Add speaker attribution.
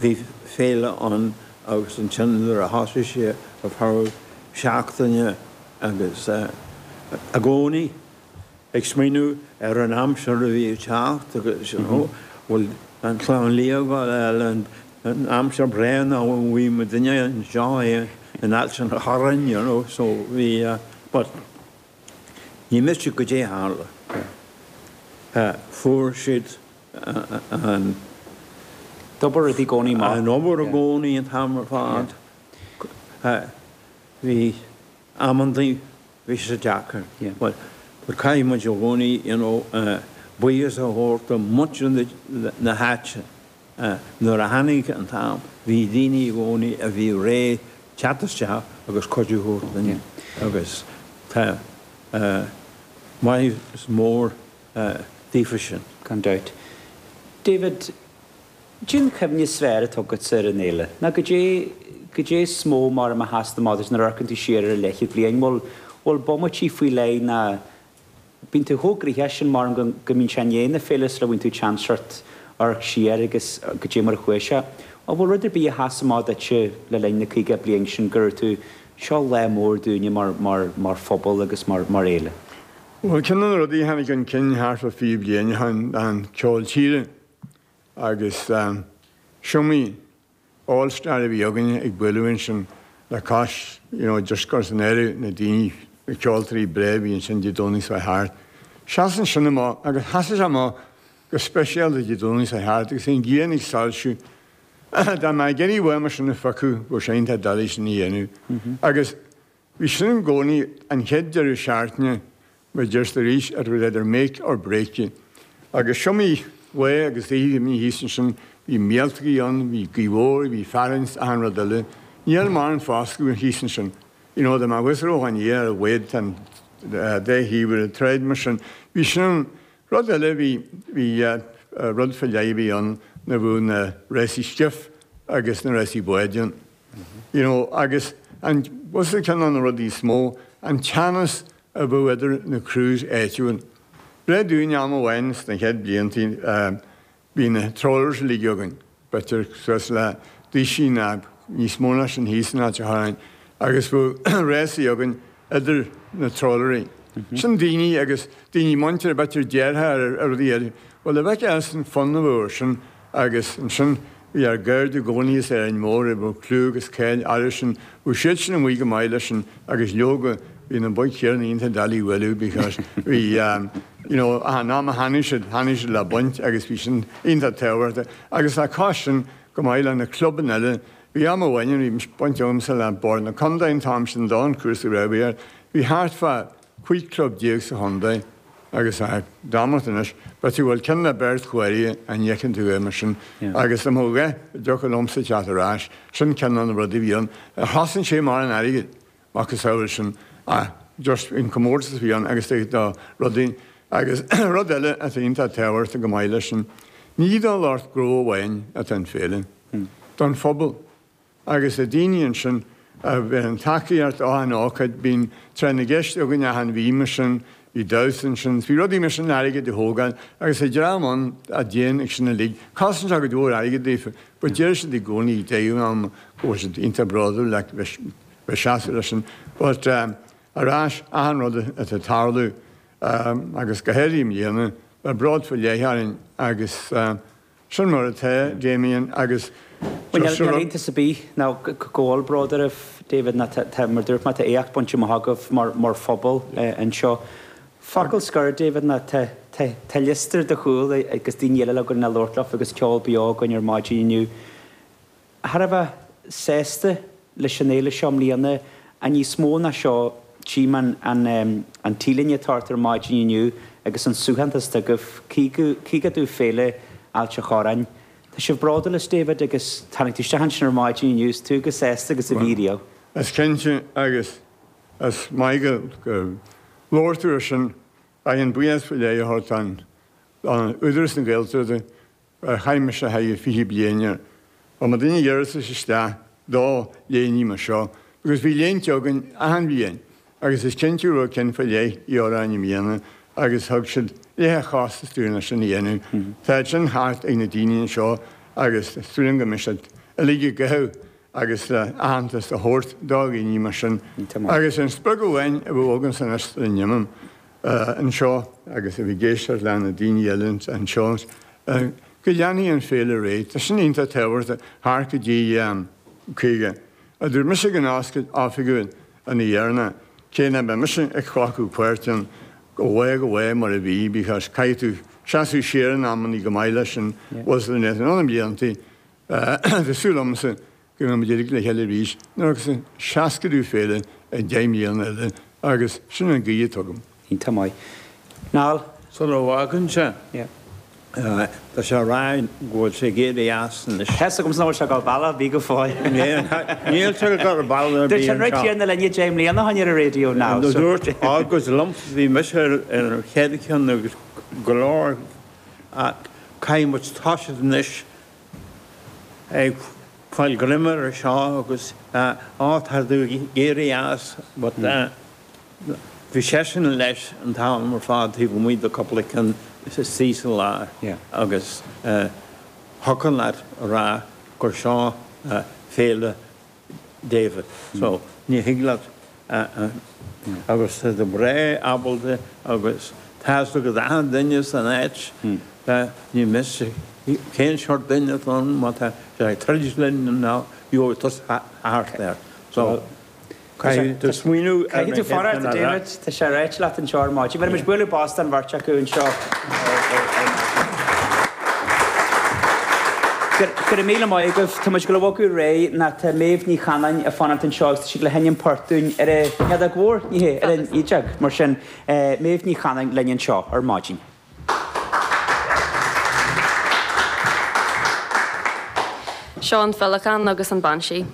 Speaker 1: Bhí féile ann agus ansin nuair a thosaigh sé ar feadh seachtaine agus i gcónaí ag smaoineamh ar an aimsir a bhí ag teacht agus you know bhfuil an chlann liath ag gabháil an aimsir breá nó an bhfuil muidinne anseo in Ailt an Chorráin you know so bhí but ní miste goidé a tharla. Fuair siad an.
Speaker 2: D'obair rudaí i gcónaí maith.
Speaker 1: An obair i gcónaí an t-am ar fad. Bhí amantaí bhí sé deacair. But caithfidh muid i gcónaí you know buíochas a thabhairt do muintir na háite. Nuair a tháinig an t-am bhí daoine i gcónaí a bhí réidh teacht isteach agus cuidiú a thabhairt linn agus tá maith mór daofa sin.
Speaker 2: Gan dabht. David, Cad é an chuimhne is fearr atá agatsa ar an fhéile? Nó goidé, goidé is mó mar a sheasann amach duit nuair a amharcann tú siar ar an leathchéad bliain? Bhfuil, bhfuil bomaití faoi leith ná bíonn tú chomh gnoitheach sin mar go, go mbíonn sé i ndiaidh na féile sula bhfaigheann tú chance sort amharc siar agus goidé mar a chuaigh sé. An bhfuil rud ar bith a sheas amach duitse le linn na 50 bliain sin go raibh tú, seo lá mór dúinne mar, mar, mar phobal agus mar, mar fhéile?
Speaker 3: Bhuel, ceann de na rudaí a tháinig chun cinn thart fá 20 bliain ó shin ná an ceol tíre agus is iomaí all star a bhí againn ag bualadh ansin le cois you know just cur san áireamh na daoine, na ceoltóirí breá a bhí ansin Dé Domhnaigh seo thart. Seasann sin amach agus sheasadh sé amach go speisialta Dé Domhnaigh seo thart agus an ghrian ag soilsiú. Dá mbeadh ag iarraidh uaim sin a phiocadh bheadh sé iontach doiligh sin a dhéanamh agus Bhí sin i gcónaí an chéad deireadh seachtaine mar deir arís it was either make or break you. Agus is iomaí lá agus oíche a bhí thíos ansin, bhí míoltógaí ann, bhí gaoth mhór, bhí fearthainn 's achan rud eile. Níl mórán foscadh thíos ansin. You know, dá mbeadh fhios raibh an ar a mhéad tá an dá thaobh ar an tsráid mar sin. Bhí sin ann. Rud eile bhí, bhí rud faoi leith a bhí ann nuair a bhíodh na rásaí skiff agus na rásaí báid ann. You know, agus an, bhuel ceann de na rudaí is mó, an teannas a bheadh idir na crews áitiúil. Breith dúinn am amháin sna chéad bliantaí, bhí na trawlers uilig againn, b'fhéidir suas le duisín ná níos mó ná sin thíos in Ailt an Chorráin, agus bheadh rásaí againn idir na trawleraí. Sin daoine agus daoine muinteartha, b'fhéidir deartháir ar rudaí eile. Bhuel, a bheith as an fonn a bheadh air sin agus ansin bhí ár gcairde i gcónaí as Árainn Mhór a bheadh clú agus cáil orthu sin, bheadh siad sin amuigh go maith leis sin agus leoga bhí na boic chéanna iontach doiligh a bhualadh because bhí you know an am a tháinig siad, tháinig siad le baint agus bhí sin iontach tábhachtach agus le cois sin go maith le na clubanna eile Bhí am amháin a bhí baint agamsa le Bord na Contae an t-am sin don chúrsa raibh air. Bhí thart fá 15 club sa chontae agus dámacht anois, b'fhéidir go bhfuil ceann le beirt chomhairle a ndeiceann tú é mar sin agus dá mbeadh a dhath a dtiocfadh liomsa teacht ar ais, sin ceann de na rudaí a bhí ann. Chosain sé mar an airgead, macasamhail sin ach just an comórtas a bhí ann agus do rudaí agus rud eile atá iontach tábhachtach go maith leis sin, ní do lucht gnó amháin atá an féile. don phobal agus na daoine ansin a bhíonn tacaíocht á an ócáid, bíonn tráth na gceist againn achan mhí mar sin, bhí damhsa ansin, bhí rudaí mar sin airgead a thógáil agus tá dream ann a dtéann ag sin uilig, cosann sé go leor airgead daofa but deir siad i gcónaí ag deireadh an ama go bhfuil siad iontach bródúil le bheith seasamh leis sin but ar ais achan rud atá ag tarlú agus go háirithe i mbliana, beidh bród faoi leith orainn agus. Sin mar atá, Damien, agus
Speaker 2: Bhuel, níl iontas ar bith ná go bhfuil bród oraibh, David, ná tá, mar dúirt mé, tá éacht bainte amach agaibh mar phobal anseo. Focal scoir, David, ná tá, tá, tá liosta ar do chúl agus daoine eile againn le labhairt leofa agus ceol beo againn ar maidin inniu. Thar a bheith sásta leis an fhéile seo i mbliana, ach níos mó ná seo, tchím an an t-léine atá ort ar maidin inniu agus an suaitheantas atá agaibh, 50ú Féile Ailt an Chorráin. Tá sibh bródúil as David agus tháinig tú isteach ansin ar maidin inniu is tú chomh sásta agus a bhí riamh.
Speaker 3: Is cinnte agus is maith go labhair tú ar sin. Caithfidh buíochas faoi leith a thabhairt don Údarás na Gaeltachta Ar chaith mise thart fá 20 bliain air. Bhuel, má duine iarratas isteach do léiní mar seo, because bhí léinte againn achan bhliain agus is cinnte go raibh ceann faoi leith i Árainn i mbliana agus thug siad leath a chostas dúinn leis sin a dhéanamh. Tá sin thart ag na daoine anseo. Agus súil agam go mbeidh siad uilig ag gabháil agus le aitheantas a thabhairt do dhaoine mar sin. Agus an sprioc amháin a bheadh agamsa anois sula n-imím anseo agus a bheith ag éisteacht le na daoine eile anseo, go leanfaidh an féile ar aghaidh. Tá sin iontach tábhachtach thart go dtí 50. A dúirt mise ag an oscailt oifigiúil an oíche dheireanach, cé nach mbeidh mise ag glacadh páirt ann ó lá go lá mar a bhí because caithfidh tú seasamh siar in amannaí go maith leis an bhfuil in na blianta. Tá súil agamsa go mbeidh muid uilig le chéile arís nuair agus an seascadú féile i 10 mbliana eile agus sin an guí atá agam.
Speaker 2: Iontach maith. Niall?
Speaker 1: Sula bhfágann sé, tá sé ag rá go bhfuil sé ag éirí as anois.
Speaker 2: Tá 'fhios agamsa nach bhfuil sé ag dul bealach ar bith go fóill.
Speaker 1: Níl sé ag dul bealach ar bith
Speaker 2: anseo. Dúirt an Tighearna linne 10 mbliana ó shin ar an raidió, Niall.
Speaker 1: Dúirt, agus liomsa bhí mise ar an chéad cheann agus go leor ach caithfidh muid toiseacht anois ag fáil greim air seo agus á tá tú ag éirí as but bhí seisean leis an t-am ar fad taobh amuigh de cúpla ceann istigh sa lár agus thiocfadh leat a rá gur seo féile David. So, ní thig leat agus tá tú breá ábalta agus tá's agat achan duine san áit, ní miste cén seort duine atá ann má tá sé ag troid linn nó gheobhaidh tusa thart air. So, Caithfidh tú smaoineamh
Speaker 2: ar na Caithfidh tú fanacht, a David. Tá sé ráite leat anseo ar maidin. Bheir muid bualadh bos don bheirt acu anseo ar maidin. Go raibh míle maith agaibh. Tá muid ag dul a bhogadh ar aghaidh nó tá Méabh Ní Chanainn ag fanacht anseo agus tá sí ag dul a sheinm port dúinn ar an fheadóg mhór, ní hea, ar an fhidéal. Mar sin, Méabh Ní Chanainn linn anseo ar maidin.
Speaker 4: Seo an Féileacán agus an Banshee.